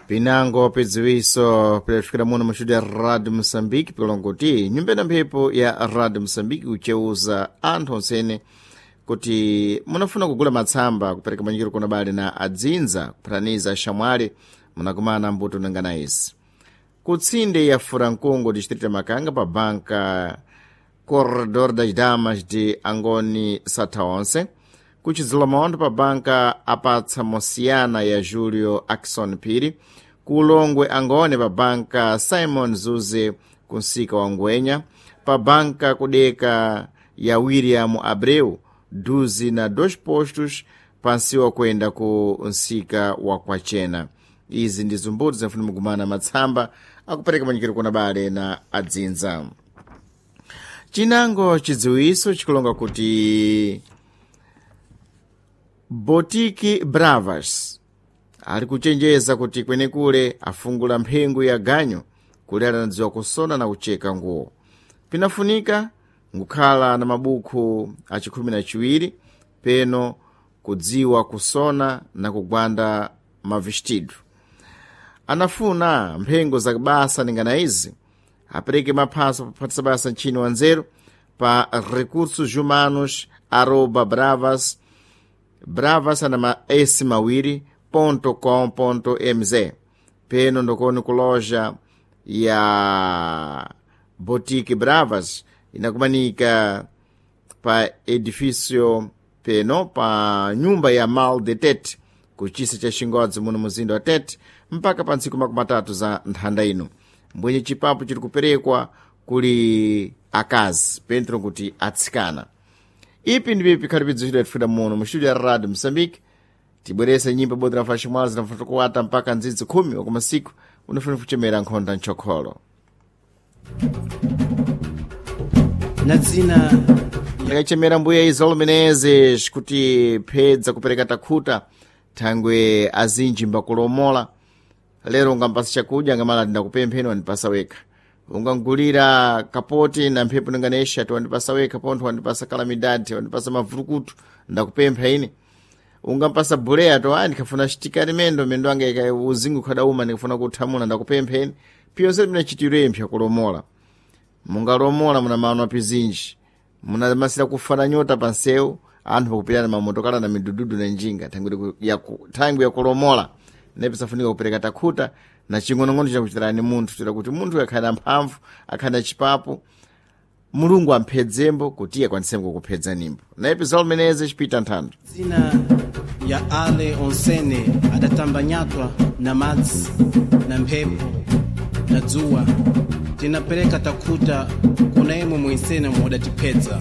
Pinango pidziwiso pidafikira muno mustudio ya Radio Moçambique pikulonga nyumba na mphepo ya Radio Moçambique kucheuza anthu onsene kuti munafuna kugula matsamba kupereka manyikiro kuna bale na adzinza kuphataniza xamwali munakumana mbuto nangana izi kutsinde ya Furankungu distrito ya Makanga pa banka Corredor das Damas de Angoni Satha onse kuchidzula maondo pa banka apatsa Mosiana ya Julio Akson Phiri kulongwe Angone pa banka Simon Zuze kunsika wa Ngwenya pa banka kudeka ya William Abreu duzi na dos postos pansiwa kwenda ku nsika wa Kwachena. Izi ndi zumbuto zinafuna mugumana matsamba akupereka manyikiro kuna bale na adzinza. Chinango chidziwiso chikulonga kuti Botiki Bravas ali kuchenjeza kuti kwenekule afungula mphengo ya ganyo kuli anadziwa kusona na kucheka nguwo. Pinafunika ngukhala na mabuku achikhumi na chiwiri peno kudziwa kusona na kugwanda mavestido. Anafuna mphengo za basa ningana izi apereke maphaso paphatisa basa ntchini wa nzeru pa recursos humanos arroba bravas bravas ana ma s mawiri ponto com ponto mz peno ndokoni kuloja ya Boutique Bravas inakumanika pa edifício peno pa nyumba ya Mal de Tete kuchisa cha Xingodzi muno muzinda wa Tete mpaka pa ntsiku 30 za nthanda ino mbwenye chipapo chiri kuperekwa kuli akazi pentro kuti atsikana. Ipi ndipipi khalipidzo chidwa tifuna muno mu studio ya Radio Moçambique tibwerese nyimbo bodzi la ximwala zinafuna kuwata mpaka ndzidzi 10 wakumasiku unafuna kuchemera nkhonda mchokholo na dzina ndikachemera mbuya Izolo Menezes kuti phedza kupereka takhuta thangwe azinji mbakulomola lero ungampasa chakudya ngamala ndakupempheni wandipasa wekha ungangulira kapoti na mphepo ninganesha ti wandipasa wekha pontho wandipasa kalamidadi wandipasa mavurukutu ndakupempha ine ungampasa buleya to ayi ndikhafuna chitikati mendo mendo anga ika uzingu khadauma ndikafuna kuthamuna ndakupempheni piyonse pinachitiro impsa kulomola mungalomola muna mano apizinji munamasira kufana nyota pansewu anthu pakupirana mamotokala na midududu na njinga thangwi yakulomola nepisafunika kupereka takhuta na ching'onong'ono chakuchitirani munthu tira kuti munthu akhale na mphamvu akhale na chipapo Mulungu amphedzembo kuti iye akwanisembo kukuphedza nimbo naye Zolo Menezes chipita nthando dzina ya ale onsene adatambanyatwa na madzi na mphepo na dzuwa tinapereka takhuta kuna imwe mwinsene mudatipedza.